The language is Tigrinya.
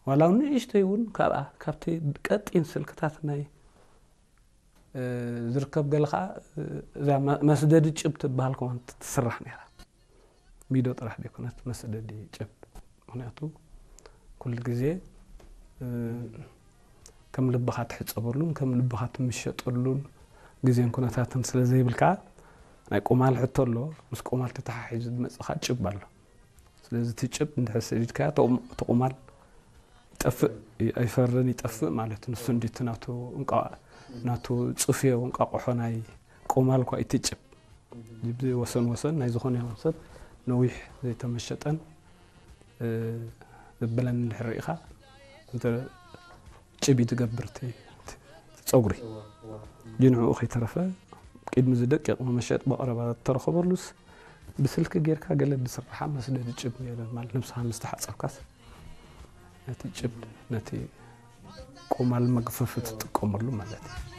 ዋላ እውን ንእሽተይ እውን ካብኣ ካብቲ ቀጢን ስልክታት ናይ ዝርከብ ገለ ከዓ እዛ መስደዲ ጭብ ትበሃል ከማን ትስራሕ ነራ። ሚዶ ጥራሕ ዘይኮነት መስደዲ ጭብ። ምክንያቱ ኩሉ ግዜ ከም ልብኻ ትሕፀበሉን ከም ልብኻ ትምሸጠሉን ግዜን ኩነታትን ስለ ዘይብልካ ናይ ቁማል ሕቶ ኣሎ። ምስ ቁማል ተተሓሒዙ ዝመፅኻ ጭብ ኣሎ። ስለዚ እቲ ጭብ እንድሕር ሰዲድካዮ እቲ ቁማል ይጠፍእ፣ ኣይፈርን፣ ይጠፍእ ማለት ንሱ እንዲቲ ናቱ እንቋ ናቱ ጽፍዮ እንቋቆሖ ናይ ቁማል እኳ ይትጭብ። እዚ ወሰን ወሰን ናይ ዝኾነ ይኹን ሰብ ነዊሕ ዘይተመሸጠን ዘበለን እንድሕር ርኢኻ እንተ ጭብ እዩ ትገብር እቲ ጸጉሪ። ንዕኡ ከይተረፈ ቅድሚ እዚ ደቂቕ መመሸጥ ብቐረባ ተረኸበሉስ ብስልኪ ጌርካ ገለ ብስራሓ መስደዲ ጭብ ማለት ነብስኻ ምስ ተሓጸብካስ ነቲ ጭብ ነቲ ቁማል መግፈፊ ትጥቀመሉ ማለት እዩ።